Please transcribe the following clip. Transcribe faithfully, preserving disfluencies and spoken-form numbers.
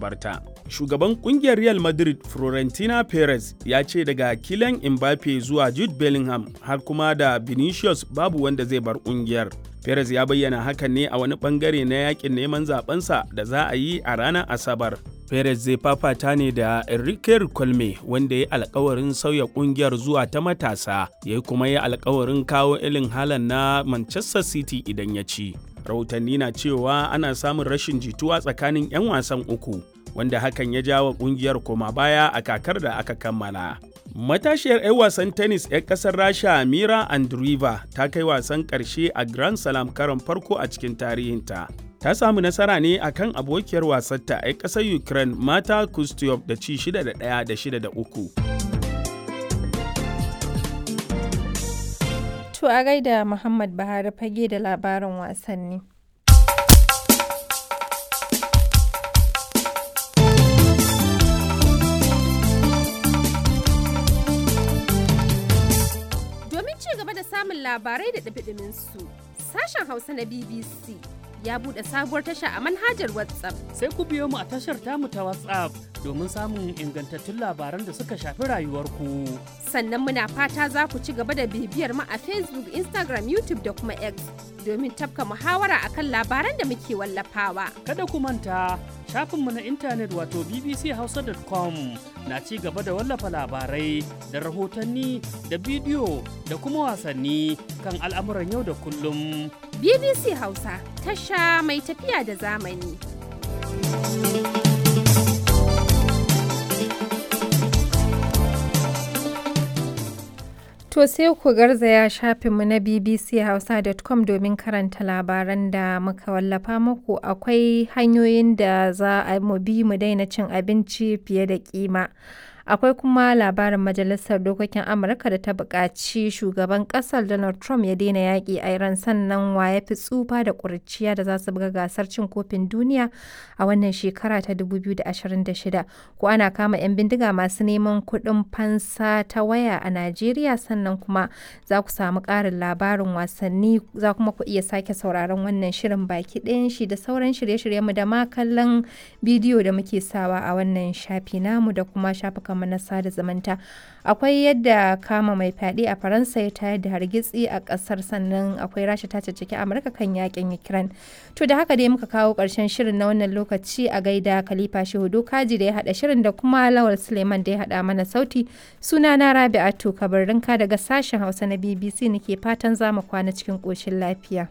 barta. Shugaban kungiyar Real Madrid Florentina Perez ya ce daga Kylian Mbappe zuwa Jude Bellingham har kuma da Vinicius babu wanda zai bar kungiyar. Perez ya bayyana hakan ne a wani bangare na yakin neman zabensa da za a yi a ranar Asabar. Perez zai fafata ne da Enrique Colme wanda ya alkawarin sauya kungiyar zuwa ta matasa, ya kuma yi alkawarin kawo ilin halan na Manchester City idan ya ci. Rahotanni na cewa ana samun rashin jituwa tsakanin 'yan wasan uku, wanda hakan ya jawo kungiyar koma baya a kakar da aka kammala. Matashiyar 'yan wasan tennis 'yan kasar Rasha Mira Andreeva ta kai wasan ƙarshe a Grand Slam karon farko a cikin tarihinta. Ta samu nasara ne a kan abokiyar wasarta 'yan ƙasar Ukraine Mata Kustyov da ci shida da ɗaya da shida da uku. To a gaida Muhammad Buhari fage da labarin wasanni. Domin ci gaba da samun labarai da ɗumi su sashen Hausa na B B C ya buɗe sabuwar tasha a manhajar WhatsApp. Sai ku biyo mu a tashar tamu ta WhatsApp domin samun ingantattun labaran da suka shafi rayuwarku. Sannan muna fata za ku ci gaba da bibiyar mu a Facebook, Instagram, YouTube da kuma X domin tafka muhawara akan labaran da muke wallafawa. Kada ku manta shafinmu na intanet wato bbchausa dot com na ci gaba da wallafa labarai da rahotanni da bidiyo da kuma wasanni kan al'amuran yau da kullum. B B C Hausa tasha mai tafiya da zamani. To sai ku garzaya shafinmu na bbchausa dot com domin karanta labaran da muka wallafa muku. Akwai hanyoyin da za a mu bi mu daina cin abinci fiye da kima. Akwai kuma labarin Majalisar Dokokin Amurka da ta buƙaci shugaban ƙasar Donald Trump ya daina yaƙi a Iran, sannan wa ya fi tsufa da ƙuriciya da za su buga gasar cin kofin duniya a wannan shekara ta dubu biyu da ashirin da shida. Ko ana kama 'yan bindiga masu neman kuɗin fansa ta waya a Najeriya, sannan kuma za ku samu ƙarin labarin wasanni, za kuma ku iya sake sauraron wannan shirin baki ɗayan shi da sauran shirye-shiryenmu da ma kallon bidiyo da muke sawa a wannan shafi namu da kuma shafukan mu na sada zumunta. Akwai yadda kama mai fyaɗe a Faransa ya tayar da hargitsi a ƙasar, sannan akwai Rasha ta caccaki Amurka kan yakin Ukraine. To da haka dai muka kawo ƙarshen shirin na wannan lokaci. A gaida Khalifa Shehu Dokaji da ya haɗa shirin da kuma Lawal Suleiman da ya haɗa mana sauti. Suna na Rabi'atu Kabarrinka daga sashen Hausa na B B C nake fatan za mu kwana cikin ƙoshin lafiya.